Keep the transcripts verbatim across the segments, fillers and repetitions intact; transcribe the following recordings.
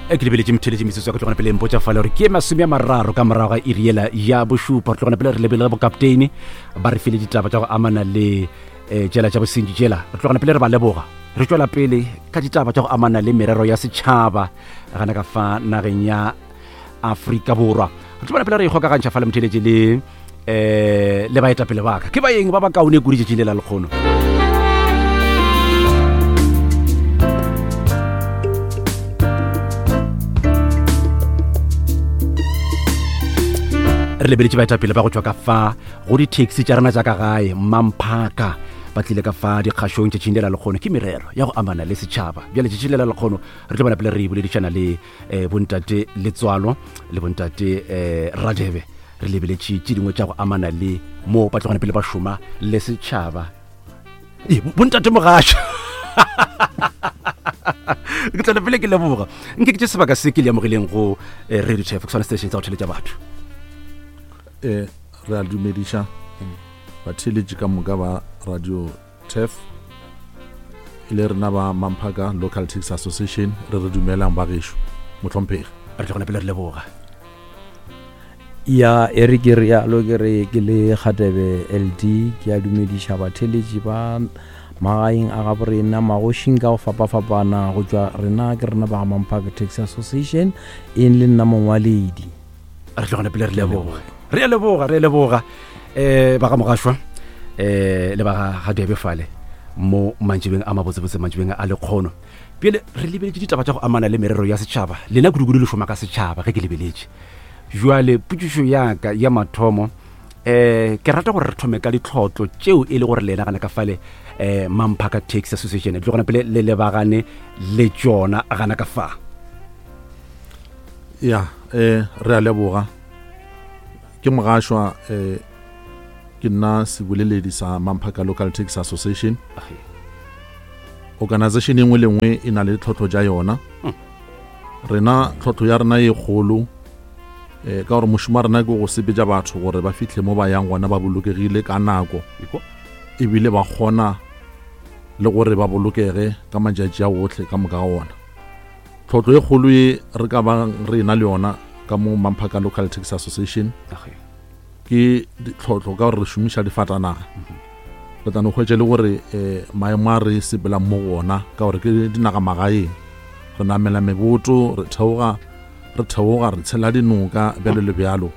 Ke lebeletše motheletše metsotso ya ka tlogana pele mpotša fale gore ke masome a mararo ka morago ga iri yela ya bošupa. Re tlogana pele re lebelele bokapteine ba re file ditaba tša go amana le um tšela tša bosenyi tšela. Re tlogana pele re ba leboga, re tšwela pele ka ditaba tša go amana le merero ya setšhaba gana ka fa nageng ya Afrika Borwa. Re tlogana pele re ikgokagantšha fale motheletše le um le baetapele baka ke baeng ba ba kaone kudu tšatšing le la lekgono. Re lebeletše baetapele ba go tšwa ka fa go di-taxi tša rena tša ka gae Mamphaka, ba tlile ka fa dikgašong tšatšing le la lekgono. Ke merero ya go amana le setšhaba. Bjale tšatšing le la lekgono re tlo bona pele re boledišana le um bontate Letswalo le bontate um Radebe. Re lebeletše tše dingwe tša go amana le mo ba tlogana pele ba šoma le setšhaba. Ee, bontate Mogaša, ke tlana pele ke leboga nke ke tše sebaka se ke le amogileng go eh, Radio Turf, ke sona station sa go theletša batho. Eh, re a dumediša batheeletši ka moka ba Radio Turf, e le rena ba Mamphaka Local Taxi Association, re re dumelang ba gešo mohlomphegi. Re tlogana pele re leboga. Ya e re ke rialo ke re ke le Kgatebe L D, ke a dumediša batheeletši ba magaeng a gabo rena magošing ka go fapafapana go tšwa rena ke rena ba ga Mamphaka Taxi Association, eng le nna mongwaledi. Re tlogana pele re leboga, re a leboga, re a leboga um ba ga Mogašwa um le ba ga Gadebe fale mo mantšibeng a mabotsebotse, mantšibeng a lekgono. Pele re lebeletše ditaba tša go amana le merero ya setšhaba, lena kudukudu le šoma ka setšhaba ge ke lebeletše. Jwale potšišo ya ka ya mathomo, um ke rata gore re thome ka ditlhotlo tšeo e le gore lena gana ka fale um Mamphaka Taxi Association le tlogana pele le lebagane le tšona gana ka fa. Ya, eh re a leboga. Ke Mogašwa, eh ke nna seboleledi sa Mamphaka Local Taxi Association. Organization e nngwe le nngwe e na le tlhotlho tša yona. Rena tlhotlho ya rena e kgolo eh ka gore mošomo wa rena ke go sepetša batho gore ba fihle mo ba yang gona ba bolokegile ka nako, ebile ba kgona le gore ba bolokege ka matšatši a otlhe ka moka ga ona. Tlhotlho e kgolo e re ka bang re ena le yona ka mo Mamphaka Local Taxi Association ke ditlhotlho ka gore re šomiša difatanaga. Re tla no hwetša le gore um maemo a re sepelang mo go ona ka gore ke dinaga magaeng, re namela meboto, re theoga re theoga re tshela dinoka bjalo le bjalo.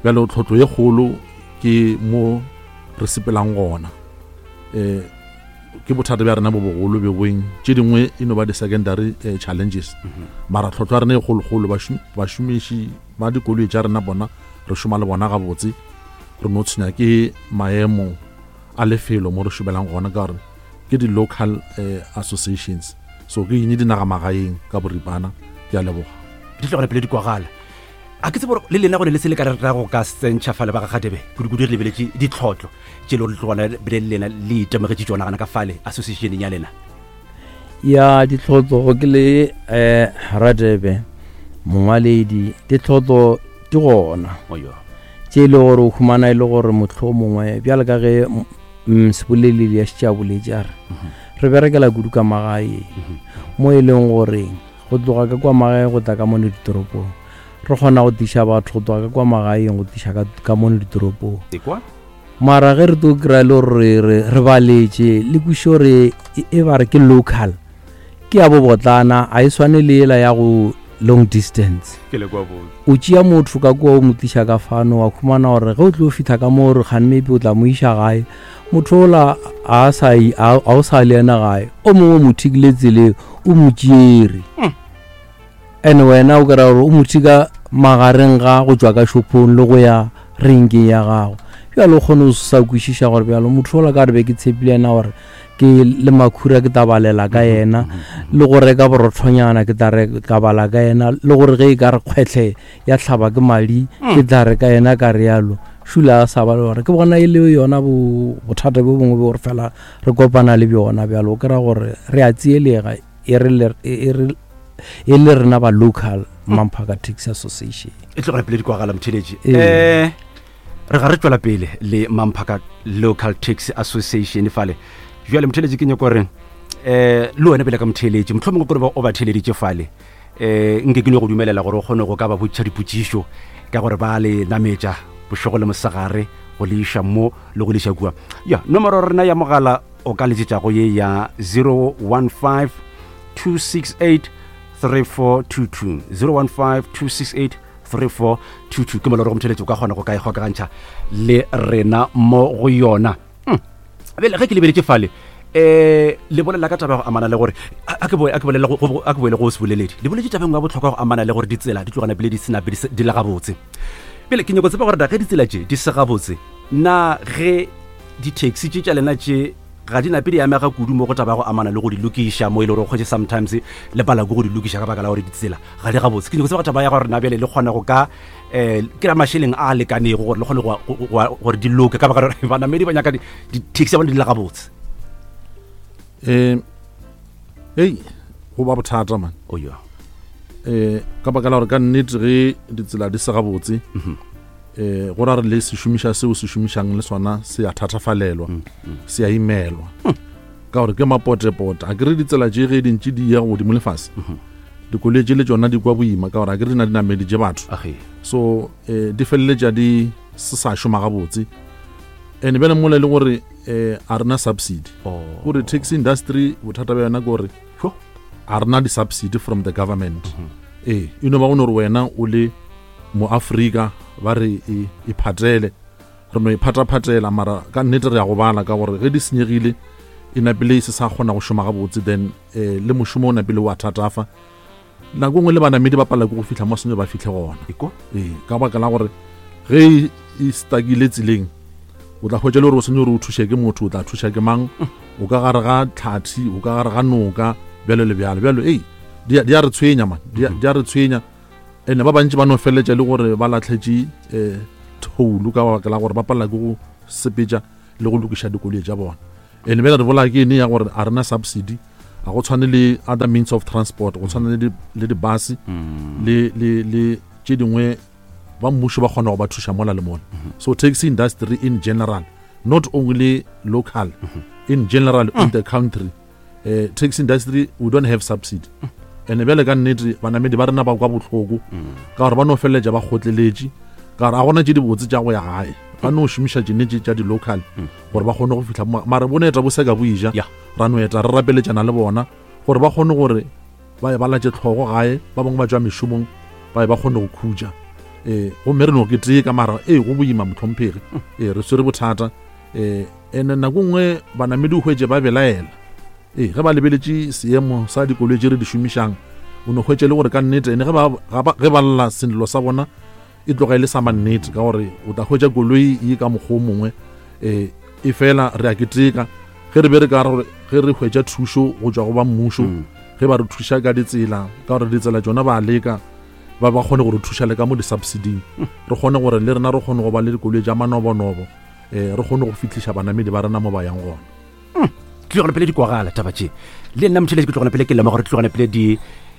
Bjalo tlhotlho e kgolo ke mo re sepelang gona. Um ke bothata bja rena bo bogolo bjo boeng, tše dingwe e no ba di-secondary eh, challenges. Mara tlhotlho ya rena e kgolokgolo, bašomiši ba dikoloi tša rena bona re šoma le bona gabotse, re no tshwenya ke maemo a lefelo mo re šomelang gona ka gore ke di-local eh, associations, so ke eng dinaga magaeng ka boripana. Ke a leboga. Di tlogela pele di kwagala. A ke tsebe gore le lena gore le se le ka re ra go ka sentšha fale ba ga Gadebe, kudukudu re lebeletše ditlhotlo tše le gore tlogana bile le lena le itemogetše tšona gana ka fale associationeng ya lena. Ya ditlhotlo ke le eh Radebe mongwaledi, ditlhotlo di gona tše e le gore o humana e le gore mohlomongwe bjalo ka ge seboleledi ya šetše a boletše a re re berekela kudu ka magaeng mo e leng gore go tloga ka kwa magaeng go tla ka mono ditoropong, re kgona go tliša batho go tloga ka kwa magaeng go tliša ka mono ditoropong. Mara ge re tlo kry-a le gore re baletše le kwešiše gore e ba re ke local, ke ya bobotlana, a e swane le ela ya go long distance. O tšea motho ka kua o mo tliša ka fano, wa khumana gore ge o tlo fihla ka mo gore kgane maybe o tla mo iša gae, motho ola a sa a o sa le yena gae, o mongwe o mo thikile tseleng o mo tšere. Ene wena o kry-a gore o mo thika magareng ga go tšwa ka shopong le go ya renkeng ya gago. Bjalo o kgone go sa kwešiša gore bjalo motho ola ka re be ke tshepile yena gore ke le makhura ke tla balela ka yena, le go reka borothonyana ke tla ka bala ka yena, le gore ge e ka re kgwetlhe ya hlaba ke madi ke tla re ka yena ka rialo. Šula a sa ba le gore ke bona e le yona bothata bjo bongwe bo gore fela re kopana le bjona. Bjalo o kry-a gore re a tsielege e re e le rena ba local Mamphaka Taxi Association. E tlogela pele di kwagala motheletši. Eh re ga re tšwela pele le Mamphaka Local Taxi Association fale. Jwale motheletši ke nyako gore eh le wena pele ka motheletši mohlomongwe gore ba o ba theleditše fale um nke ke no go dumelela gore o kgone go ka ba botšiša dipotšišo ka gore ba le nametša bošego le mosegare go le iša mo le go le iša kua. Ya nomoro rena ya mogala o ka letšetšago ye ya zero one five two six eight three four two two, zero one five two six eight three four two two. Ke moloro go motheletši o ka kgona go ka ikgokagantšha le rena mo go yona. Bjale ge ke lebeletše fale eh le bolela ka taba go amana le gore a ke boe a ke bolela go a ke boele go se boleledi le boletše tabeng ya bohlokwa go amana le gore ditsela di tlogana pele di sena pele di le gabotse. Pele ke nyako tseba gore da ge ditsela tše di se gabotse na ge di-taxi tše tša lena tše ga di nape di amega kudu mo go taba go amana le go di lokiša mo e le gore o kgwetše sometimes le pala ko go di lokiša ka baka la gore ditsela ga di gabotse. Ke nyako tseba taba ya gore na bjale le kgona go ka um kry-a mašeleng a lekanego gore le kgone gore di loke ka baka gore banamedi ba nyaka di-taxi ya bona di le gabotse. Um ei go ba bothata man. Oh yeah. Eh ka baka la gore ka nnete ge ditsela di se gabotse eh go ra re le se šomiša seo se šomišang le sona se a thatafalelwa, se a imelwa ka gore ke mapotepote. A kere ditsela tše ge dintši di ya godimo le fase, dikoloi tše le tšona di kwa boima ka gore a kere di na di nameditše batho, so eh di feleletša di se sa šoma gabotse. And bjale mola e le gore eh a rena subsidy, gore taxi industry bothata bja yona ke gore a rena di-subsidy from the government. Ee e no ba go no gore wena o le mo Afrika ba re e phatele, re no e phataphatela, mara ka nnete re ya go bala ka gore ge di senyegile e napile e se sa kgona go šoma gabotse, then eh le mošomo o napile wa thatafa. Nako nngwe le banamedi ba pala ke go fihla mo senya ba fihle gona. Ee ka baka la gore ge e stakile tseleng o tla hwetša le gore o senya gore o thuše ke motho, o tla thuša ke mang, o ka gare ga tlhathi, o ka gare ga noka, bjalo le bjalo bjalo. Ei di a re tshwenya man, di a re tshwenya. Ene ba bantši ba no feleletša le gore ba lahletše um thoulu ka baka la gore ba palela ke go sepetša le go lokiša dikoloi tša bona. Ene bjale re bola ke ene ya gore a rena subsidy, a go tshwane le other means of transport, go tshwane le di-bus le le le tše dingwe ba mmušo ba kgona go ba thuša mola le mola. So taxi industry in general, not only local, in general in the country, uh, taxi industry we don't have subsidy. And bjale ka nnete banamedi ba rena ba kwa bohloko ka gore ba no feleletša ba kgotleletše ka gore a gona tše dibotse tša go ya gae, ba no šomiša tšene tše tša di-local gore ba kgone go fihla. Mara bone eta bo seka bo ija, ra no eta re rapeletšana le bona gore ba kgone gore ba ye ba latše tlhogo gae, ba bangwe ba tšwa mešomong ba ye ba kgone go khutša. Eh gomme re no ke tee ka mara ee go boima mohlomphegi, ee re swere bothata. Eh ene nako nngwe banamedi o hwetše ba belaela, ee ge ba lebeletše seemo sa dikoloi tše re di šomišang, o no hwetše le gore ka nnete ene ge ba ge ba lla sello sa bona e tloga e le sa mannete, ka gore o tla hwetša koloi e ka mokgwa o mongwe eh e fela re a keteka ge re be re ka gore ge re hwetša thušo go tšwa go ba mmušo, ge ba re thuša ka ditsela, ka gore ditsela tšona ba leka ba ba kgone go re thuša le ka mo di-subsidyng, re kgone gore le rena re kgone go ba le dikoloi tša manobonobo, um re kgone go fihliša banamedi ba rena mo ba yang gona. Tlogana pele di kwagala taba tše le nna motheletši ke tlogana pele ke lemoga gore tlogana pele di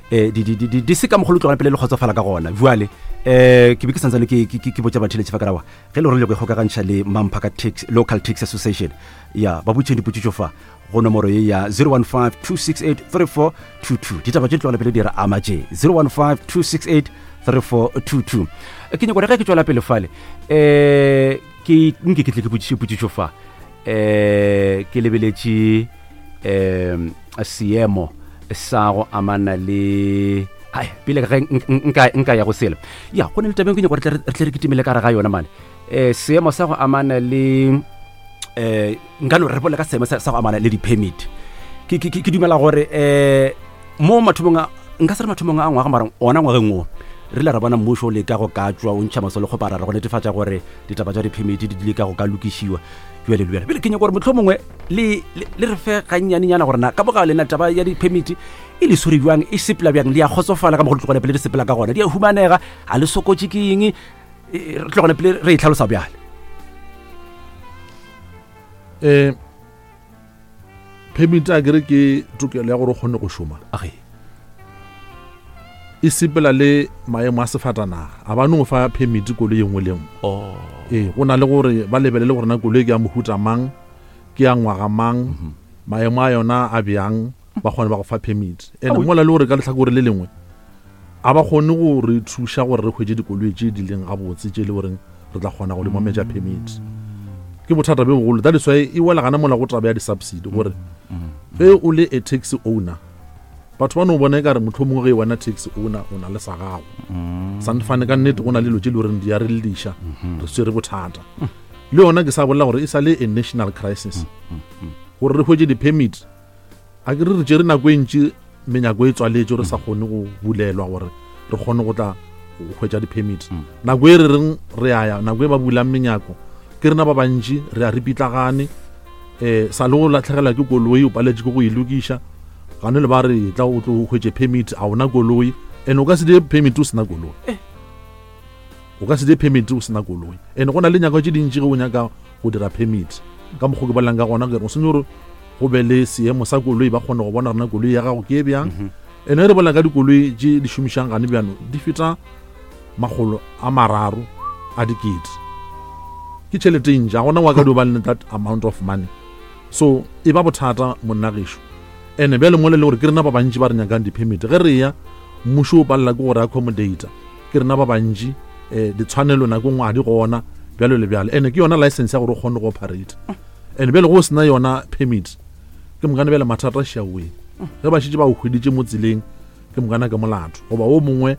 di di di di se ka mogolo tlogana pele le kgotsofala ka gona. Jwale eh ke be ke santsane ke ke botša batheletši fa ka rawa ge le gore le go ikgokagantšha le Mampaka Taxi Local Taxi Association ya ba botšeng dipotšišo fa go nomoro ye ya zero one five two six eight three four two two. Ditaba tše tlogana pele di re ama tše zero one five two six eight three four two two. Ke nyako re ge ke tšwela pele fale eh ke nke ke tle ke botšiše potšišo fa eh ke lebeletše um seemo sa go amana le ai pele ge nka nka ya go sela ya go ne le tabeng ke nyako re tle re kitimele ka re ga yona mane eh seemo sa go amana le eh nka no re bolela ka seemo sa go amana le di-permit. Ke ke dumela gore eh mo mathomong a nka se re mathomong a ngwaga mara ona ngwageng o re le ra bona mmušo o leka go ka tšwa o ntšha masole go parara go netefatša gore ditaba tša di-permit di leka go ka lokišiwa jwale le bjale. Pele ke nyaka gore mohlomongwe le le re fe gannyanenyana gore na ka boga lena taba ya di-permit e le swere bjang, e sepela bjang, le ya kgotsofala ka mo go tlogone pele di sepela ka gona, di a humanega, ga le sokotše ke eng, re tlogone pele re e tlhalosa bjale. Um permit a kere ke tokelo ya gore o kgone go šoma, e sepela le maemo a sefatanaga, a ba no fa permit koloi e nngwe le nngwe. Ee go na le gore ba lebelele gore na koloi ke ya mohuta mang, ke ya ngwaga mang, maemo a yona a bjang, ba kgone ba go fa permit. And mola le gore ka lehlakore le lengwe A ba kgone go re thuša gore re hwetše dikoloi tše di leng gabotse tše e le goreng re tla kgona go di mometša permit. Ke bothata bjo bogolo. That is why e wela gana mola go taba ya di-subsidy gore ge o le a taxi owner, batho ba no bona e kare mohlomongwe ge wena taxi owner o na le sa gago. Sanfane ka nnete go na le dilo tše le goreng di a re lliša, re swere bothata. Le yona ke sa bolela gore e sa le a national crisis gore re hwetše di-permit. A ke re re tšere nako e ntši menyako e tswaletše re sa kgone go bulelwa gore re kgone go tla go hwetša di-permit. Nako e re reng re a ya, nako e ba bulang menyako ke rena ba bantši re a re pitlagane, um sa le go latlhegelwa ke koloi o paletše ke go e lokiša, gane le ba re tla o tlo hwetše permit a ona koloi, and o ka se die permit o sena koloi. O ka se die permit o sena koloi. And go na le nyako tše dintši ge o nyaka go dira permit. Ka mokgwa ke bolelang ka gona ke re o senya gore go be le seemo sa koloi ba kgone go bona rena koloi ya gago ke e bjang. And ge re bolela ka dikoloi tše di šomišang gane bjano di feta makgolo a mararo a dikete. Ke tšhelete e ntši, ga gona wa ka dio ba le that amount of money. So e ba bothata monna gešo. And bjale mo le le gore ke rena ba bantši ba re nyakang di-permit. Ge re ya mmušo o palela ke gore accommodate, ke rena ba bantši, eh ditshwanelo nako nngwe ga di gona bjalo le bjalo. And ke yona license ya gore o kgone go operate. And bjale go sena yona permit, ke mokane bjale mathata a šiaweng. Ge ba šetše ba o hweditše mo tseleng, ke mokana ke molato. Goba o mongwe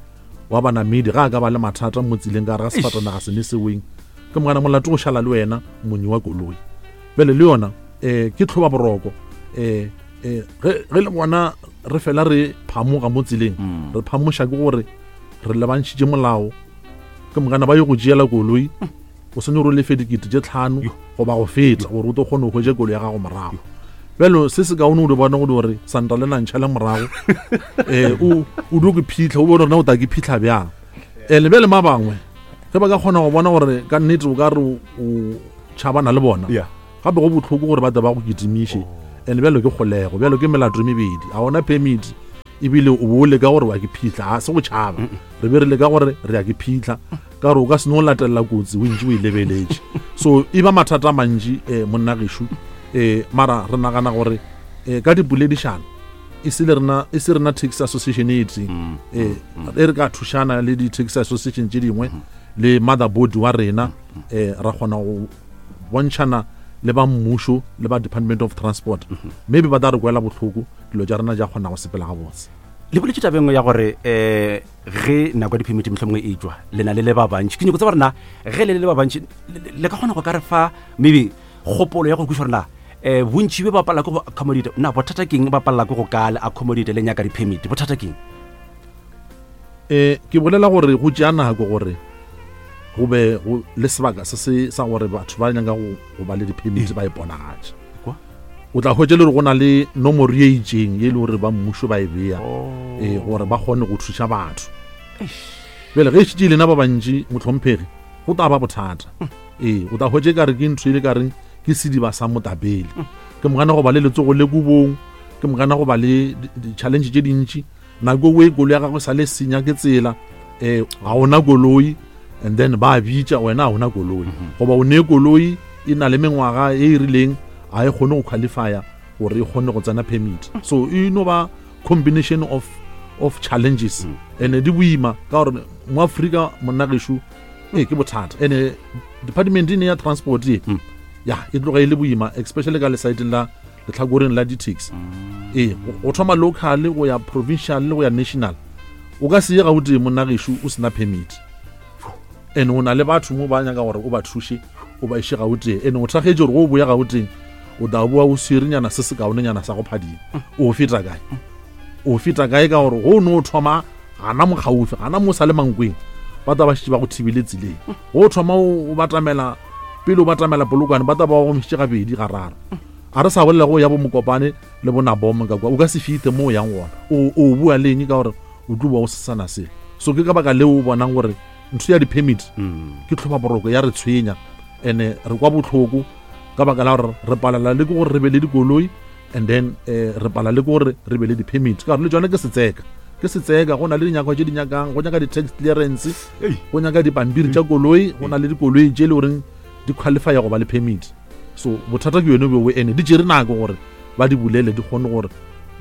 wa banamedi ga a ka ba le mathata mo tseleng ka gare ga sefatanaga se ne seweng, ke mokana molato go šala le wena monyi wa koloi. Bjale le yona eh ke tlhoba boroko, eh eh ge ge le bona re fela re phamoga mo tseleng, re phamoša ke gore re lebantšhitše molao, ke mokana ba yo go tšeela koloi, o swanetše gore o lefe dikete tše tlhano goba go feta gore o tlo kgone go hwetša koloi ya gago morago. Bjalo se se kaone o di bona gore santa le nantšha le morago, eh o o dio ke phitlha, o bone gore na o tla ke phitlha bjang. Eh le bjale ma bangwe ge ba ka kgona go bona gore ka nnete o ka re o tšhabana le bona, gape go bohloko gore ba tle ba go kitimiše. And bjalo ke kgolego, bjalo ke melato e mebedi, a ona permit ebile o bo leka gore wa ke phitlha, ga se go tšhaba, re be re leka gore re ya ke phitlha ka gore o ka se no latelela kotsi o ntše o e lebeletše. So e ba mathata a mantši eh monna gešo, eh mara re nagana gore eh ka dipoledišano e se le rena, e se rena taxi association e tee, eh e re ka thušana le di-taxi association tše dingwe le motherboard wa rena, eh ra kgona go bontšhana le ba mmušo le ba Department of Transport, maybe ba tla re kwela bohloko, dilo tša rena di a kgona go sepela gabotse. Le boletše taba e nngwe ya gore eh ge nako ya di-permit mohlomongwe e tšwa le na le le ba bantši, ke nyako tseba gore na ge le le le ba bantši le ka kgona go ka re fa maybe kgopolo ya go kwešiša gore na eh bontši be ba palela ke go accommodate, na bothata keng ba palela ke go ka le accommodate le nyaka di-permit, bothata keng? Eh ke bolela gore go tšea nako gore go be go le sebaka se se sa gore batho ba nyaka go go ba le di-permit ba iponagatše. O tla hwetša le gore go na le nomoro ye itšeng ye e le gore ba mmušo ba e bea, eh gore ba kgone go thuša batho. Bjale ge e šetše e lena ba bantši mohlomphegi, go tla ba bothata. Ee, o tla hwetša e kare ke ntho e le kareng ke sediba sa motapele. Ke mokana go ba le letsogo le kobong, ke mokana go ba le di-challenge tše dintši. Nako e koloi ya gagwe sa le senya ke tsela, eh ga ona koloi, and then ba bitša wena ga ona koloi, goba o ne koloi e na le mengwaga e e rileng, ga e kgone go qualifya gore e kgone go tsena permit. So e no ba combination of of challenges, and di boima ka gore mo Afrika monna gešo ee ke bothata. And department e ne ya transport e ya e tloga e le boima, especially ka lesaeteng la letlhakoreng la di-taxi. Ee, go thoma local go ya provincial le go ya national, o ka se ye Gauteng monna gešo o sena permit. And o na le batho mo ba nyaka gore o ba thuše o ba iše Gauteng, and o thakgetše gore go o boya Gauteng o tla boa o swerenyana se se kaonenyana sa go phadima. O feta kae? O feta kae ka gore go no thoma gana mo gaufi, gana mo sa le Mankweng, ba tla ba šetše ba go thibile tseleng. Go thoma o batamela pele o batamela Polokwane, ba tla ba go gomišitše gabedi gararo. A re sa bolela go ya bo Mokopane le bo Naboma ka kwa, o ka se fite mo o yang gona. O o bua le eng ka gore o tlo boa o se sana selo. So ke ka baka leo o bonang gore ntho ya di-permit ke tlhoba boroko ya re tshwenya, and re kwa bohloko ka baka la gore re palela le ke gore re be le dikoloi, and then eh re palela le ke gore re be le di-permit. Ka gore le tšone ke setseka, ke setseka, go na le dinyakwa tše di nyakang, go nyaka di-tax clearance, go nyaka dipampiri tša koloi, go na le dikoloi tše e le goreng di qualifya go ba le permit. So bothata ke yone bjo, ene di tšere nako gore ba di bulele di kgone gore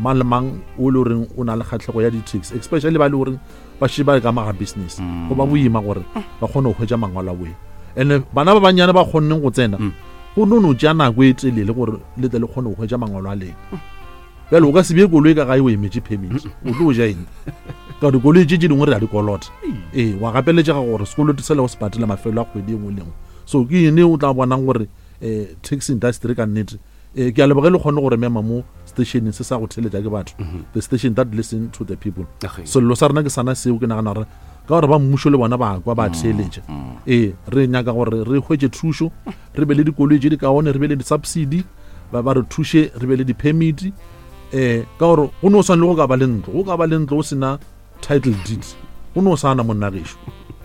Mang le mang o le goreng o na le kgatlhego ya di-taxi, especially ba le goreng ba šetše ba le ka maga business, go ba boima gore ba kgone go hwetša mangwalo a boe. And bana ba bannyane ba kgonneng go tsena, go no no tšea nako e telele gore le tle le kgone go hwetša mangwalo a lena. Bjale o ka se bee koloi ka gae o emetše permit, o tlo ja eng? Ka gore dikoloi tše tše dingwe re a di kolota. Ee, wa gapeletšega gore sekoloto sela o se patela mafelo a kgwedi e nngwe le nngwe. So ke ene o tla bonang gore um taxi industry ka nnete, um ke a leboge le kgone gore mema mo stationeng se sa go theletša ke batho, the station that listen to the people. Sello sa rena ke sana seo, ke nagana gore ka gore ba mmušo le bona ba kwa ba theletša. Ee, re nyaka gore re hwetše thušo, re be le dikoloi tše di kaone, re be le di-subsidy, ba ba re thuše, re be le di-permit. Um ka gore go no swane le go ka ba le ntlo, go ka ba le ntlo o sena title deed, go no sana monna gešo.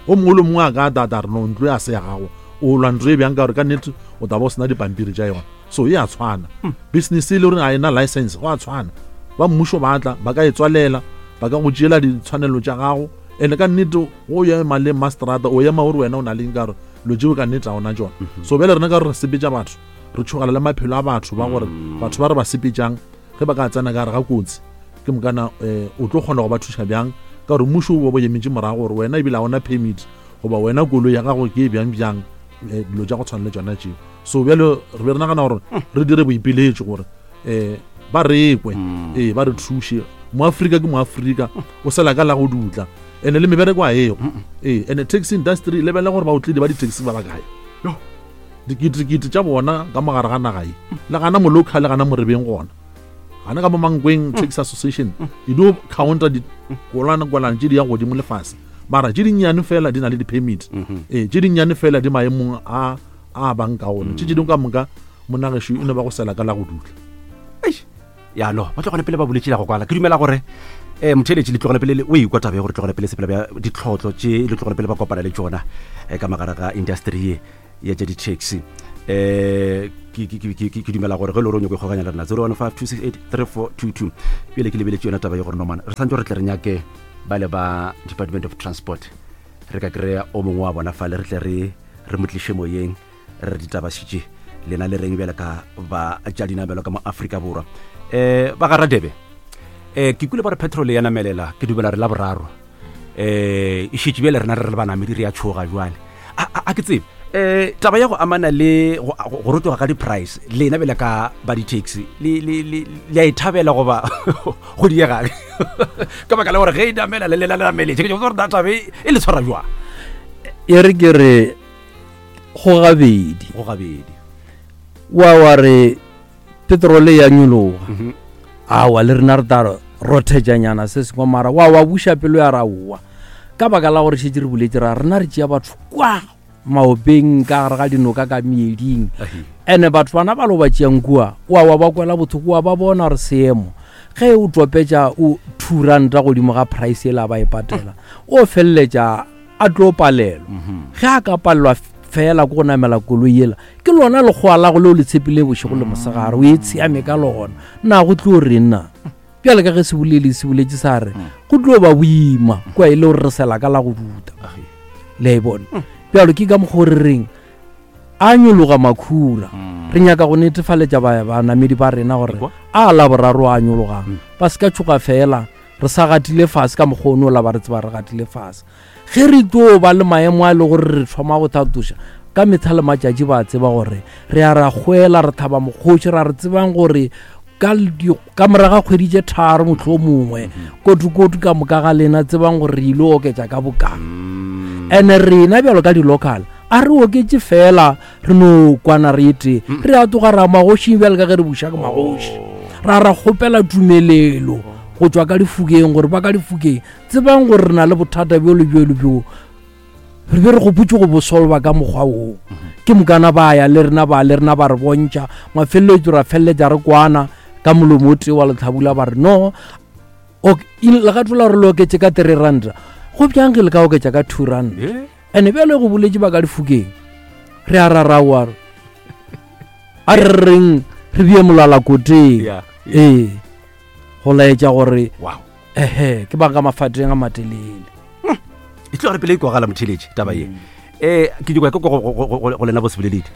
O mongwe le mongwe a ka tata re no ntlo ya se ya gago, o lwa ntlo e bjang ka gore ka nnete o tla ba o sena dipampiri tša yona. So e a tshwana business e le gore ga ena license, go a tshwana. Ba mmušo ba tla ba ka e tswalela, ba ka go tšeela ditshwanelo tša gago. And ka nnete go ema le mastrata, o ema gore wena o na leng ka gore lo tšeo ka nnete ga ona tšona. So bjale rena ka gore re sepetša batho, re tšhogela le maphelo a batho ba gore batho ba re ba sepetšang ge ba ka tsena ka gare ga kotsi, ke mokana um o tlo kgona go ba thuša bjang? Ka gore mmušo o bo emetše morago gore wena ebile ga ona permit, goba wena koloi ya gago ke e bjang bjang, dilo tša go tshwana le tšona tšeo. So bjale re be re nagana gore re dire boipiletšo gore um ba rekwe, ee ba re thuše. Moafrika ke Moafrika, o sela ka la go dutla, ene le mebereko a ego. Ee, ene taxi industry lebelela gore baotledi ba di-taxi ba bakae, diketekete tša bona ka mogare ga naga ye, le gana mo local, le gana morebeng gona gana ka mo Mankweng Taxi Association e dio counter dikolwana-kolwana tše di yang godimo lefase, mara tše dinnyane fela di na le di-permit. Ee, tše dinnyane fela di maemong a a bang ka one, tše tše dingwe ka moka monagešo e no ba go sela ka la go dutla. Ya no ba tlogele pele ba boletše la go kwala. Ke dumela gore um motheletši le tlogele pele o ikwa taba ya gore tlogele pele sepela bja ditlhotlo tše le tlogele pele ba kopana le tšona ka magare ga industry ye ya tša di-taxi. Um ke dumela gore ge le gore o nyako ikgokanya le rena zero one five two six eight three four two two. Pele ke lebeletše yona taba ye gore nomana re santse re tle re nyake ba le ba Department of Transport, re ka kry-a o mongwe wa bona fale, re tle re re mo tliše moyeng, re re ditaba šitše lena le reng bjale ka ba tša dinamelo ka mo Afrika Borwa. Um ba ga Radebe, um ke kule ba re petrol ya namelela, ke dumela re la boraro um e šetše bjale rena re re banamedi re ya tšhoga jwale. A ke tsebe um taba ya go amana le go rotoga ka di-price, lena bjale ka ba di-taxi le a e thabela goba go diega ka baka la gore ge e namela le lela le nameletše, ke gore taba e le tshwara jwang? E re ke re go gabedi, go gabedi wa wa re petrole ya nyologa, awa le rena re tla rothetšanyana se sengwe, mara wa wa buša pelo ya raowa ka baka la gore šetše re boletše ra rena re tšea batho kwa maopeng ka gare ga dinoka ka meeding, ene batho bana ba lo ba tšeang kua wa wa ba kwela bothoko, wa ba bona gore seemo ge o topetša o two ranta godimo ga price ela ba e patela, o feleletša a tlo palelwa. Ge a ka palelwa fela ko go namela koloi ela, ke lona lekgowa la go leo le tshepile bošego le mosegare, o e tsheame ka lona, na go tlo reng na? Bjale ka ge se bolele se boletše sa re go tlo ba boima kwa e le gore re sela ka la go duta, le a e bona. Bjalo ke ka mokgwa re reng a nyologa makhura, re nyaka go netefaletša banamedi ba rena gore a la boraro a nyologang, ba se ka tšhoga fela re sa gatile fase ka mokgwa ono la ba re tseba re gatile fase. Ge re tlo ba le maemo a e le gore re thoma go thatoša ka metlha le matšatši, ba tseba gore re a ra kgwela, re thaba mokgoši, ra re tsebang gore ka moraga kgwedi tše tharo motlho mongwe kotukotu ka moka ga lena tsebang gore re ile oketša ka bokang. Ene rena bjalo ka di-local a re oketše fela re no kwana re ete, re a tloga ra magošing bjalo ka ge re buša ke magoši, ra ra kgopela tumelelo go tšwa ka difokeng gore ba ka difokeng tsebang gore re na le bothata bjo le bjo le bjo, re be re gopotše go bo solva ka mokgwa woo. Ke mokana ba ya le rena ba le rena ba re bontšha, mafeletšo ra feleletša re kwana ka molomo o tee wa letlhabula, ba re no legato la gore le oketše ka three ranta, go bjang ge le ka oketša ka two ranta? Ene bjale go boletše ba ka difokeng, re a raraoa a re reng re bie molala koteng, ee go laetša gore ehe ke ba ka mafateng a matelele. E tlo re pele e kwagala motheletši taba ye. Um ke dikwa ke go lena bo seboleledi.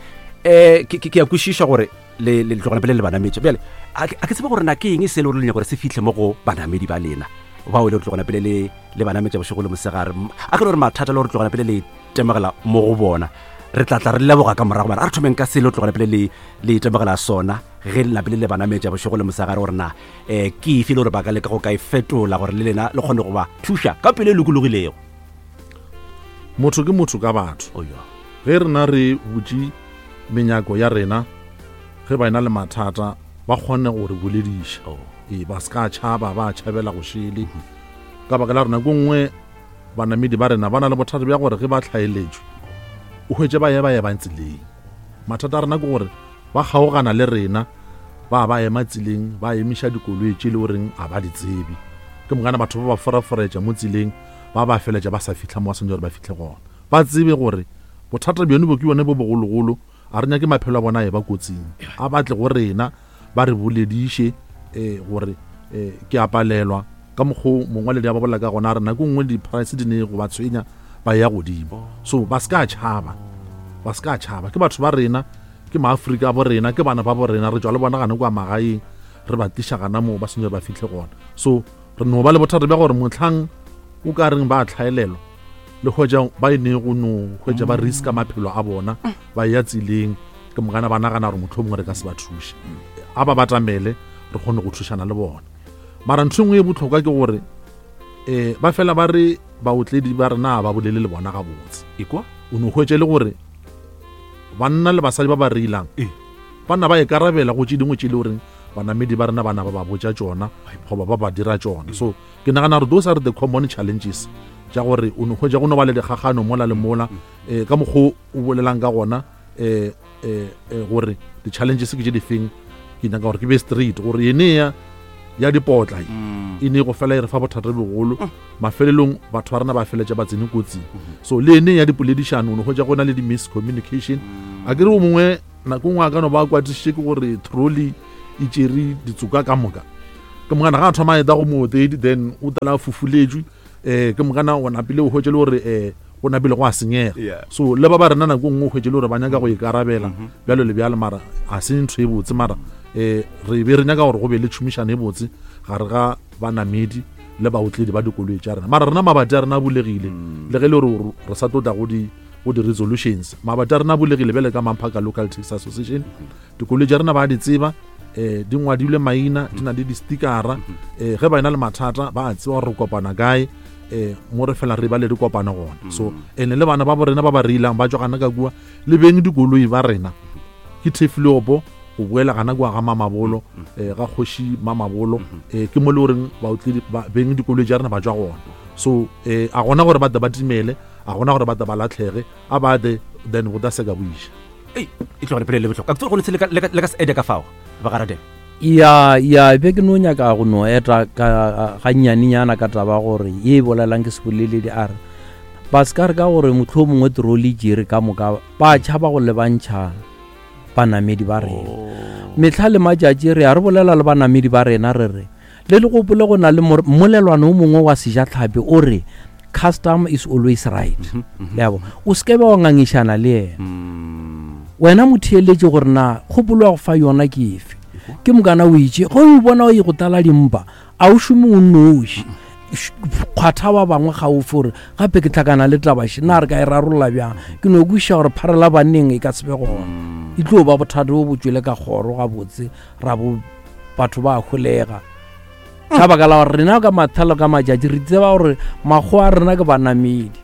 Eh ke ke a kwešiša gore le le tlogana pele le banametša. Bjale a ke tsebe gore na ke eng se le gore le nyaka gore se fihle mo go banamedi ba lena bao le tlogana pele le le banametša bošego le mosegare. A ke le gore mathata le gore tlogana pele le itemogela mo go bona, re tla tla re leboga ka morago. Mara a re thomeng ka se le tlogana pele le le itemogela sona ge le napile le banametša bošego le mosegare, gore na um ke efe le gore ba ka leka go ka e fetola gore le lena le kgone go ba thuša ka pele e lokologilego. Motho ke motho ka batho. Ge rena re butše menyako ya rena, ge ba ena le mathata ba kgone go re bolediša. Ee, ba se ka tšhaba, ba tšhabela go šele. Ka baka la rena ko nngwe banamedi ba rena ba na le bothata bja gore ge ba tlhaeletšwe o hwetše ba ye ba ye ba tseleng. Mathata a rena ke gore ba kgaogana le rena, ba ba ema tseleng, ba emiša dikoloi tše le goreng a ba di tsebe. Ke mokana batho ba ba foraforetša mo tseleng, ba ba feletša ba sa fihla mo ba swanetše gore ba fihle gona. Ba tsebe gore bothata bjone bo ke bone bo bogologolo, a re nyake maphelo a bona a e ba kotsing. A batle go rena ba re bolediše um gore um ke a palelwa ka mokgo mongwaledi a ba bolela ka gona. A re nako nngwe di-price di ne go ba tshwenya ba ya godimo. So ba se ka tšhaba, ba se ka tšhaba. Ke batho ba rena, ke maAfrika bo rena, ke bana ba bo rena, re tšwa le bona gana kwa magaeng, re ba tliša gana moo ba swanetše ba fihle gona. So re no ba le bothata bja gore motlhang o ka reng ba tlhaelelwa le hwetša ba e ne go no hwetša ba riska maphelo a bona ba ya tseleng, ke mokana ba nagana gore mohlomongwe re ka se ba thuše. A ba batamele re kgone go thušana le bona. Mara ntho e nngwe e bohlokwa ke gore um ba fela ba re baotledi ba rena ba bolele le bona gabotse. Ekwa o no hwetše le gore banna le basadi ba ba reilang banna ba ikarabela go tše dingwe tše le goreng banamedi ba rena bana ba ba botša tšona goba ba ba dira tšona. So ke nagana gore those are the common challenges tša gore o no hwetša go no ba le dikgagano mola le mola um ka mokgo o bolelang ka gona um um gore di-challenges ke tše di feng. Ke nyaka gore ke be straight gore ene ya ya dipotla e ne go fela e re fa bothata bogolo. Mafelelong batho ba rena ba feletša ba tsene kotsing. So le ene ya dipoledišano o no hwetša go na le di-miscommunication. A ke re o mongwe nako nngwe a ka no ba kwatišitše ke gore trolley e tšere ditsoka ka moka, ke mokana ga a thoma a eta go mootledi then o tala a fufuletšwe um ke mokana o napile o hwetše le gore um go napile go a senyega. So le ba ba rena nako nngwe o hwetše le gore ba nyaka go ikarabela bjalo le bjalo, mara a se ntho e botse. Mara um re be re nyaka gore go be le tšhomišano e botse gare ga banamedi le baotledi ba dikoloi tša rena. Mara rena mabati a rena a bulegile, le ge le gore re sa tlo tla go di go di-resolutions, mabati a rena a bulegile bjale ka Mamphaka Local Taxi Association. Dikoloi tša rena ba di tseba, um di ngwadilwe maina, di na le di-stickera. Um ge ba ena le mathata ba a tseba gore re kopana kae, um mo re fela re ba le dikopano gona. So ene le bana ba bo rena ba ba reilang ba tšwa gana ka kua le beng dikoloi ba rena ke Thefiliopo go boela gana kua ga Mamabolo, um ga kgoši Mamabolo, um ke mo le goreng baotledi beng dikoloi tša rena ba tšwa gona. So um a gona gore ba tle ba timele, a gona gore ba tle ba latlhege, a ba tle then go ta se ka boiša. Ei, e tlogele pele le bohlokwa. Ka go le le ka se ede ka fao ba ga Radebe. Ya ya be ke no nyaka go no eta ka ganyanenyana ka taba gore ye bolelang ke seboleledi a re ba se ka re ka gore mohlomongwe trolley tšere ka moka ba tšhaba go lebantšha banamedi ba rena. Mehla le matšatši re a re bolela le banamedi ba rena re re le le gopole go na le mmolelwana o mongwe wa sejatlhapi o re custom is always right. Le a bona, o se ke be wa ngangišana le yena. Wena motheeletše gore na kgopolo ya go fa yona ke efe. Ke mokana o itše ge o bona o ye go tlala dimpa a o šome o nnoši, kgwatha ba bangwe gaufi gore gape ke tlhakana le tabaše na re ka e rarolla bjang. Ke no kwešiša gore pharela banneng e ka se be gona, e tlo ba bothata bo bo tšwele ka kgoro gabotse ra bo batho ba holega. Ka baka la gore rena ka mathalo ka matšatši re tseba gore makgowa a rena ke banamedi.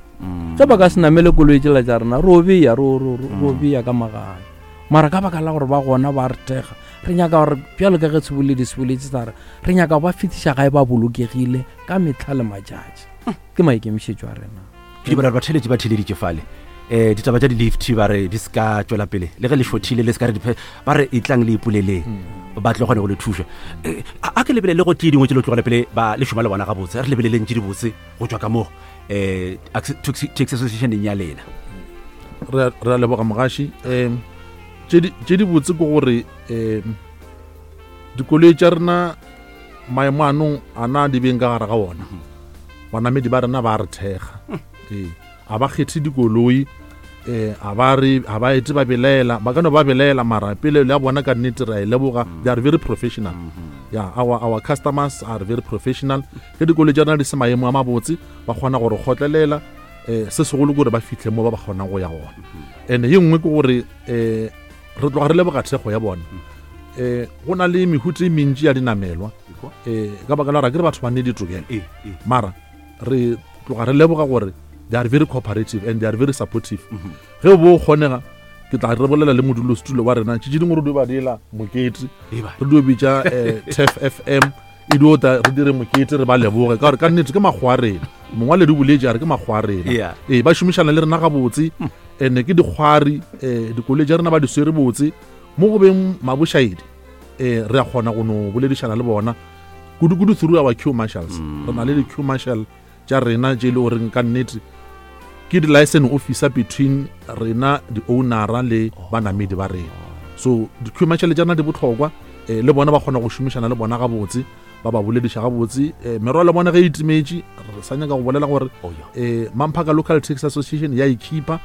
Ge ba ka se namele koloi tšela tša rena ro beya ro ro beya ka magae. Mara ka baka la gore ba gona ba re thekga, re nyaka gore bjalo ka ge seboledi se boletse sa re re nyaka go ba fetiša gae ba bolokegile ka mehla le matšatši. Ke maikemišetšo a rena. Ke di bona ba theletše ba theleditše fale. Eh ditaba tša di-lift ba re di se ka tšwela pele le ge le šothile le se ka re ba re e tlang le ipoleleng ba tlo kgone go le thuša. A ke lebelele go tše dingwe tše le tlogela pele ba le šoma le bona gabotse, re lebeleleng tše dibotse go tšwa ka mo eh taxi association ya lena. Re re a leboga mogaši. Um tše di botse ke gore um dikoloi tša rena maemo anong a na di beng ka gare ga ona, banamedi ba rena ba re thekga. Ee, a ba kgethe dikoloi Eh a ba re a ba ete ba belaela, ba ka no ba belaela mara pele le bona ka nnete ra e leboga. They are very professional. Yeah, our our customers are very professional. Ke dikolo tša rena di se maemo a mabotse, ba kgona gore kgotlelela eh se segolo gore ba fitlhe mo ba ba kgonang go ya gona. Ene ye nngwe ke gore eh re tloga re leboga thekgo ya bona. Eh go na le mehuta e mentši ya dinamelwa eh ka baka la gore ke re batho ba ne ditokelo, mara re tloga re leboga gore they are very cooperative and they are very supportive. Ge bo kgonega ke tla re bolela le modulosetulo wa rena tše dingwe re dio ba dira mokete, re dio bitša T F F M e dio tla re dire mokete re ba leboge ka gore ka nnete ke makgowa a rena. Mongwaledi o boletše a re ke makgowa a rena. Ee, ba šomišana le rena gabotse, ene ke dikgwari, eh dikoloi tša rena ba di swere botse mo go beng mabošaedi. Eh re a kgona go no boledišana le bona kudu-kudu through our queue marshals. Re na le di-queue marshal tša rena tše e le goreng ka nnete ke di-license officer between rena di-ownera le banamedi ba rena. So di-queue marshal tša rena di bohlokwa, eh le bona ba kgona go šomišana le bona gabotse, ba ba bolediša gabotse. Eh merwalo bona ge e timetše re sa nyaka go bolela gore eh Mamphaka Local Taxi Association ya ikhipa,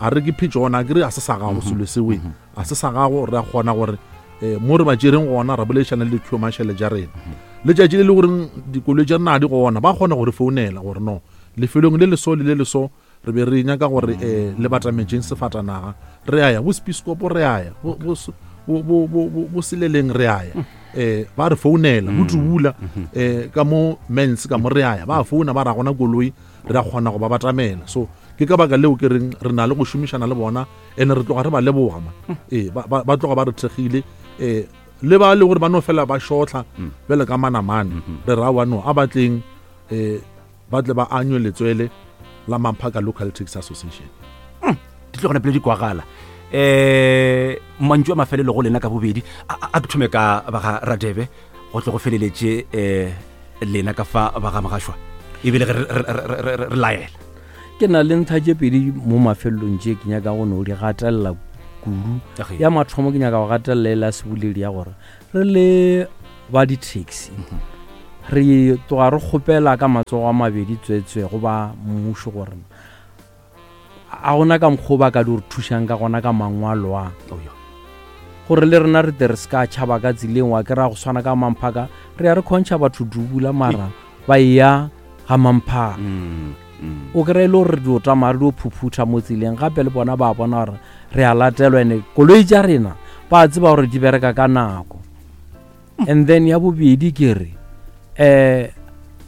a re ke phitšona ke re a se sa gago selo sewe, a se sa gago. Re a kgona gore eh mo re ba tšereng gona ra boledišana le di-queue marshal tša rena. Letšatši le le goreng dikoloi tša rena di gona, ba kgona gore founela gore no lefelong le leso le le leso re be re nyaka gore eh le batametšeng sefatanaga, re a ya bo Spiskopo, re a ya bo bo bo bo Seleleng, re a ya eh ba re founela bo Tubula eh ka mo mens ka mo re a ya ba founa ba ra gona koloi re a kgona go ba batamela. So ke ka baka leo ke reng re na le go šomišana le bona ene re tloga re ba leboga ma. Ee ba tloga ba re thekgile eh le ba le gore ba no fela ba shotla bjale ka manamane re ra wa no a batleng eh ba tle ba anywe letswele la Mamphaka Local Taxi Association. Di tlo gona pele di kwagala. Eh mantšu a mafelelo go lena ka bobedi, a ke thome ka ba ga Radebe go tle go feleletše eh lena ka fa ba ga Mogašwa ebile re re laela. Ke na le ntlha tše pedi mo mafelelong tše ke nyaka go no di gatelela kudu. Ya mathomo ke nyaka go gatelela e la seboledi ya gore re le ba di-taxi re tloga re kgopela ka matsogo a mabedi tswetswe go ba mmušo gore a gona ka mokgwa ba ka di re thušang ka gona ka mangwalo a gore le rena re tle re se ka tšhaba ka tseleng wa ke ra go swana ka Mamphaka re ya re kgontšha batho dubula mara ba ya ga Mamphaka. O kry-e le gore re dio tsamaya re dio phuphutha mo tseleng, gape le bona ba bona gore re a latelwa ene koloi tša rena ba tseba gore di bereka ka nako. And then ya bobedi ke re eh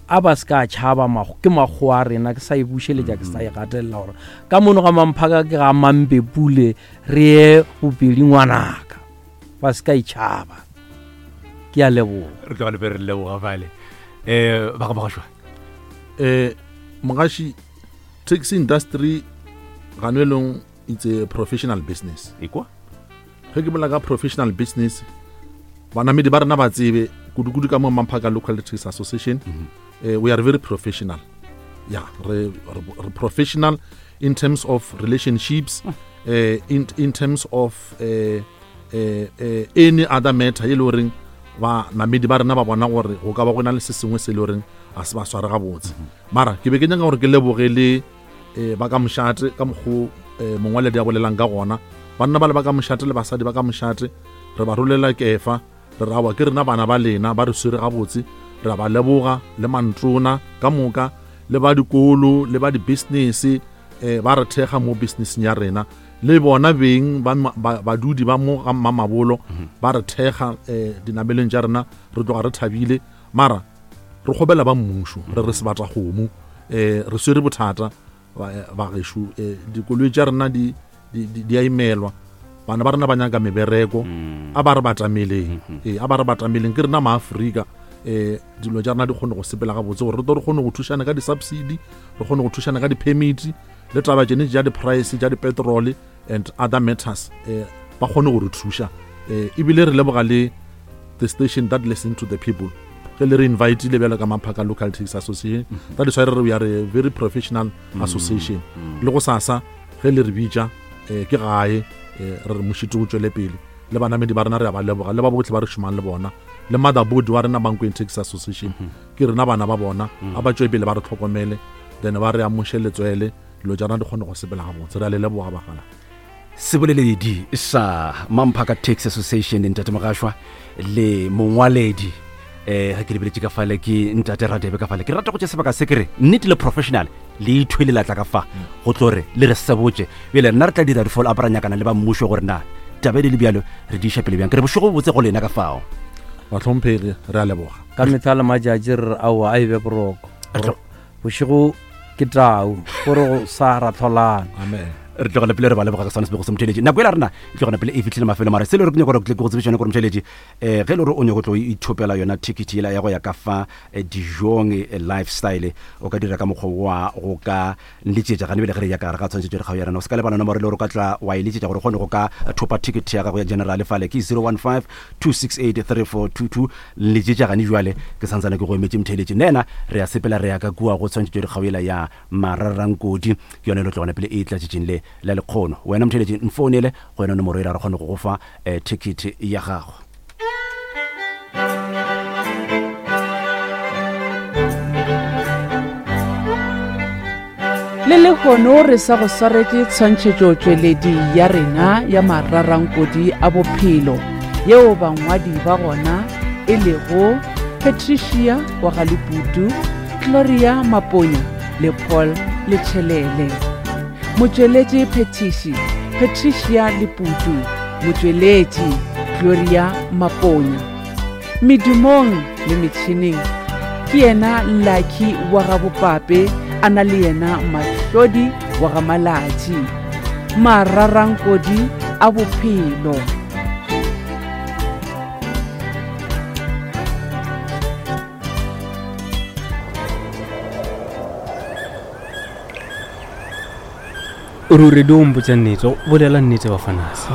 a ba se ka tšhaba ke makgowa a rena, ke sa e bušeletša ke sa e gatelela gore ka mono ga Mamphaka ke ga Mampepule re ye bopedi ngwanaka, ba se ka itšhaba. Ke a leboga. Re tloga le be re leboga fale. Eh ba ga Mogašwa. Eh Mogaši, taxi industry ganelong it's a professional business. Ekwa ge ke bolela ka professional business, banamedi ba rena ba tsebe kudu-kudu ka mo Mamphaka Local Taxi Association. Mm -hmm. eh, we are very professional. Yeah, re, re, re professional in terms of relationships, mm. eh, in, in terms of eh, eh, eh, any other matter e le goreng banamedi ba rena ba bona gore go ka ba go na le se sengwe se le goreng a se ba sware gabotse. Mara ke be ke nyaka gore ke leboge le eh, ba ka mošate ka mokgo eh, mongwaledi a bolelang ka gona. Banna ba le ba ka mošate le basadi ba ka mošate re ba rolela kefa, re rawa ke rena bana ba lena ba re swere gabotse, re ba leboga le mantrona ka moka le ba dikolo le ba di-business eh, ba re thekga mo businesseng ya rena, le bona beng ba badudi ba mo ga Mamabolo ba re thekga eh, dinameleng tša rena, re tloga re thabile. Mara re kgobela ba mmušo re re sebata kgomo, eh, re swere bothata ba gešo, eh, dikoloi tša rena di di a imelwa, bana ba rena ba nyaka mebereko, a ba re batameleng, ee a ba re batameleng ke rena maAfrika, eh dilo tša rena di kgone go sepela gabotse gore re tlo re kgone go thušana ka di-subsidy, re kgone go thušana ka di-permit le taba tšene tša di-price tša di-petrol and other matters, eh ba kgone go re thuša. Eh ebile re leboga le the station that listen to the people ge le re invitile bjalo ka Mamphaka Local Taxi Association. That is why re we are a very professional association. Le go sasa ge le re bitša eh ke gae, re re mošito o tšwele pele le banamedi ba rena re a ba leboga le ba botlhe ba re šomang le bona le motherboard wa rena Mankweng Taxi Association, ke rena bana ba bona, a ba tšwe pele ba re tlhokomele, then ba re amoše letswele Dilo tša rena di kgone go sepela gabotse. Re a le leboga bagala. Seboleledi sa Mamphaka Taxi Association ntate Mogashoa le mongwaledi eh ge ke lebeletše ka fale ke ntate Radebe ka fale. Ke rata go tša sebaka se ke re nnete le professional le ithwele la tla ka fa go tlo re le re sebotše. Bjale nna re tla dira di-follow up ra nyakana le ba mmušo gore na taba e le bjalo re di iša pele bjang. Ke re bošego botse go lena ka fao. Bahlomphegi, re a leboga. Ka mehla le matšatši re re aowa a e be boroko. Bošego ke tau gore go sa ra tlholana. Amen. Re tlogela pele re ba leboga ka sone sebego se motheletši. Nako ela rena e tlogela pele e fihlile mafelo, mara se le re ke nyaka gore ke go tsebiša yone gore motheletši eh ge le gore o nyaka tlo ithopela yona ticket yela ya go ya ka fa dijong lifestyle, o ka dira ka mokgwa wa go ka nletšetša gane bele ge re ya ka gare ga tshwantšhetšo dikgao ya rena. O se ka lebala nomoro le gore o ka tla wa e letšetša gore o kgone go ka thopa ticket ya gago ya general fale ke zero one five two six eight three four two two. Nletšetša gane jwale ke santsane ke go emetše motheletši. Nna re ya sepela re ya ka kua go tshwantšhetšo dikgao yela ya Mararankodi, ke yone le tlogana pele e tlatšetšeng le la lekgono. Wena motheletši nfounele go yona nomoro ela re kgone go go fa eh, ticket ya gago. Le lehono re sa go swaretše tshwantšhetšo tšweledi ya rena ya Mararankodi a bophelo, yeo bangwadi ba gona e lego Patricia wa ga Leputu, Gloria Maponya le Paul Lechelele. Motšweletši Phetiši Patricia Leputu, motšweletši Gloria Maponya. Medumong le metšhineng ke yena Lucky wa ga Bopape, a na le yena Mahlodi wa ga Malatši. Mararankodi a bophelo. Ruri di o mpotša nnete, bolela nnete bafanase.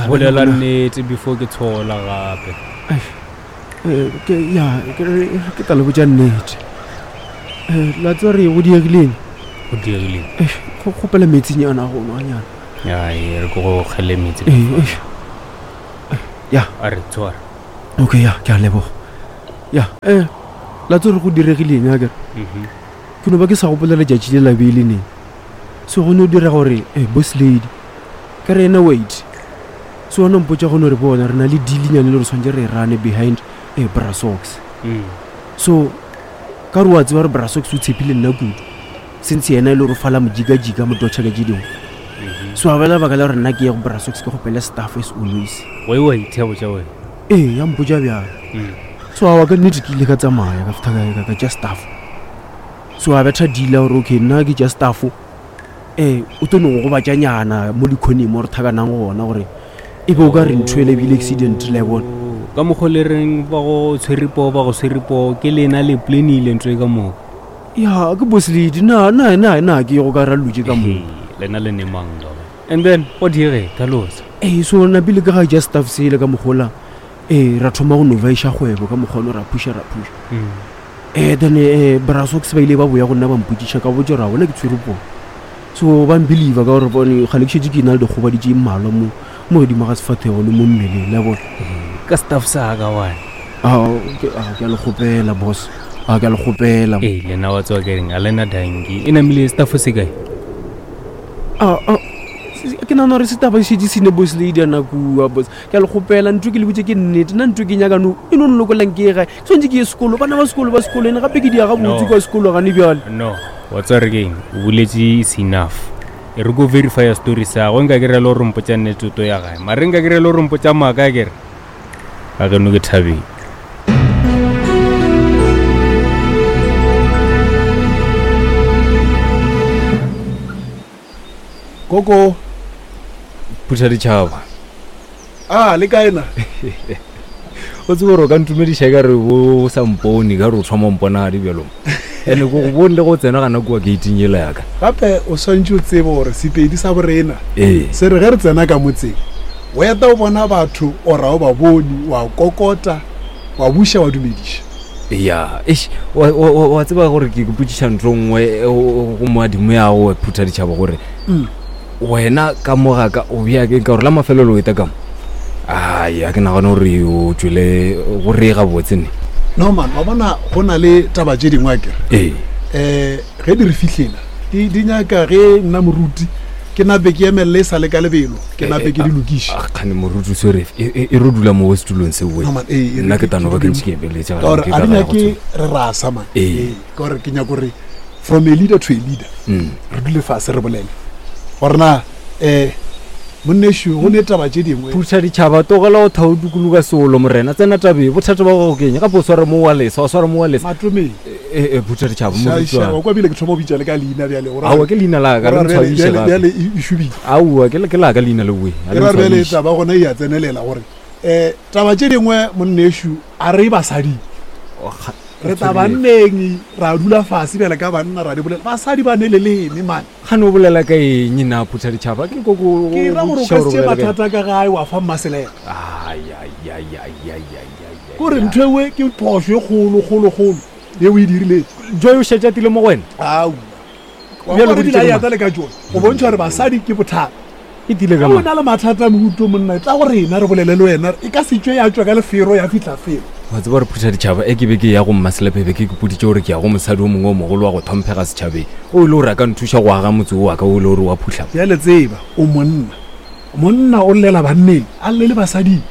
Bolela nnete before ke tshola gape. Ke ya ke tla le botša nnete. La tseba re go diegileng? Go diegileng. Go kgopela metsinyana go nwanyana. Ai, re go kgele metsi. Ya. A re tshwara. Okay, ya, ke a leboga. Ya, eh la tseba re go diregileng a kere? Mhm. Ke no ba ke sa gopola letšatši le la beile neng. So go no dira gore eh boss lady ka re ena wait. So ona mpotša go no re bona re na le deal-nyane le re tshwanetse re rane behind eh Brasox. Mm. So ka re wa tseba re Brasox o tshepile nna kudu. Since yena e le gore fala mojikajika mo dotšha ka tše dingwe. So a bela baka la gore nna ke ye go Brasox ke kgopele staff as always. Wa wa ithea botša wena. Ee, ya mpotša bjalo. Mm. So awa ka nnete ke ile ka tsamaya ka fihla ka ka tša staff. So a betha deal gore okay nna ke tša staff eh o tlo no go gobatšanyana mo dikhoneng mo re thakanang gona gore e be o ka re ntho ele bile accident le bona. Ka mokgwa le reng ba go tshwere poo ba go tshwere poo ke lena le planile ntho e ka moka. Ya ke boss lady na na na na ke go ka ra lutše ka mo. Lena le nemang ka. And then go dire tlhalosa. Eh so na pele ka ga tša staff sele ka mogola eh ra thoma go novaiša kgwebo ka mokgwa ono ra pusha ra pusha. Mm. Eh then eh Brasox ba ile ba boya go nna ba mpotšiša ka botša ra bona ke tshwere poo. So ba mbelieve ka gore bone gale ke šetše ke na le dikgobadi tše mmalwa mo mo godimo ga sefathego le mo mmeleng la bona. Ka staff sa ka wane. Ah ke a ke a le kgopela boss. A ke a le kgopela. Eh lena wa tswa ke reng a lena danki e namile staff se kae? Ah ah ke nahana gore setaba šetše se ne boss lady a nakua boss. Ke a le kgopela ntho ke le botše ke nnete, nna ntho ke nyaka no e no nlokolang ke ye gae. Ke tshwanetse ke ye sekolo, bana ba sekolo ba sekolo ene gape ke di ya gabotse kwa sekolo gane bjale. No, wa tseba re keng, o boletše is enough. E re ko verify story sa go nka ke re le gore mpotša nnete o to ya gae. Mare nka ke re le gore mpotša maaka ke re. Ga ke no ke thabile. Koko phutha ditšhaba. Ah, le kae na? O tsebe gore o ka ntumediša ka re o sa mpone, ka re o thoma mpona di bjalo. Ene ko go bone le go tsena gana kua gating yela ya ka. Gape o swantše o tsebe gore Sepedi sa borena Ee. se re ge re tsena ka motseng o eta o bona batho ora o ba bone, wa kokota, wa buša, wa dumediša. Ya, eish, wa, wa, wa tseba gore ke ipotšiša ntho nngwe go moadimo ya go phutha ditšhaba gore Mm. wena ka mo ga ka o bea ke ka gore la mafelelo o eta ka mo. Ai, a ke nagane gore o tšwele go re gabotse ne. No man, wa bona go na le taba tše dingwe akere. Ee. um ge di re fihlela di di nyaka ge nna moruti ke nape ke emelele e sa le ka lebelo ke nape ke di lokiše Ah, kgane moruti o swere e e- e re dula mo setulong seo No, man, ee, e re nna ke ke- tano ba ke ke dule ntše ke emeletše ka gore ke a di ka ga go nyake re rasa man Ee. Ee, ka gore ke nyako gore from a leader to a leader Mm. re dule fase re bolele gore na um monnešu go ne taba tše dingwe phutha ditšhaba togela o thao dukuluka seolo morena tsena tabeng bothata ba gago keng gape o sware mo wa lesa o sware mo wa lesa matomeng e phutha ditšhaba moruti wa wa kwa bile ke thoma go bitša le ka leina bjale go ra aowa ke leina la ka go le ra bjale- ntshwabiše bjale gape bjale e e šobile aowa ke ke la ka leina le oe a e le ra re bjale ntshwabiše. taba gona e a tsenelela gore um taba tše dingwe monnešu a re basading Oh, ga- re tla banneng ra dula fase bjale ka banna ra di bolela basadi ba ne leleme mane gane o bolela ka eng na phutha ditšhaba ke koko ke ra gore o ka se tšee mathata ka gae wa fa mmaselela kore ntho ewe ke phošo e kgolo kgolo kgolo ye o e dirileng joy o šetše a tile mo go wena aowa Bjale wa go dila ditše yata le ka tsone go bontšha gore basadi ke bothata e tile ka o mang na le mathata moruto monna e tla go rena re bolele le wena e ka se tswe ya tswa ka lefero ya fitlha felo wa tseba gore phutha ditšhaba e ke be ke ya go mmaselepe be ke kepoditše gore ke ya go mosadi o mongwe o mogolo wa go thomphega setšhabeng o e le gore a ka nthuša go aga motse o wa ka o e le gore wa phutlhama bjale tseba o monna monna o llela banneng a lle le basading